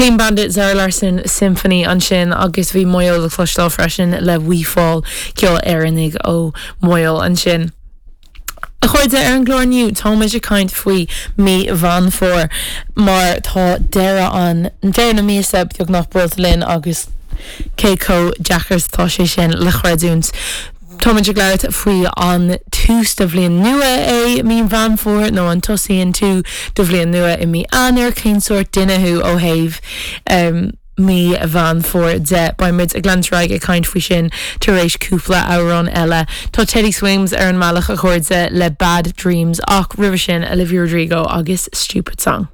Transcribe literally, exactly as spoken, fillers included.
Clean Bandit Zara Larsson Symphony ansin agus bhí Maigh Eo le cloisteáil freisin le We Fall ceol Éireannach ó Mhaigh Eo ansin. A chairde ar an gclár inniu táimid ag caint faoi mí Mheán Fómhair mar tá deireadh an deireadh na míosa beagnach buailte linn agus cé chomh deacair atá sé sin le creidiúint. Táimid ag labhairt faoi an tús de bhliain nua é mí Mheán Fómhair nó an tosaíonn tú do bhliain nua i mí Eanáir cén sórt duine thú ó thaobh um, mí Mheán Fómhair de Beimid ag leanúint ag caint faoi sin tar éis cúpla amhrán eile. Tá Teddy Swims ar an mbealach a chairde le Bad Dreams ach roimhe sin Olivia Rodrigo agus Stupid Song.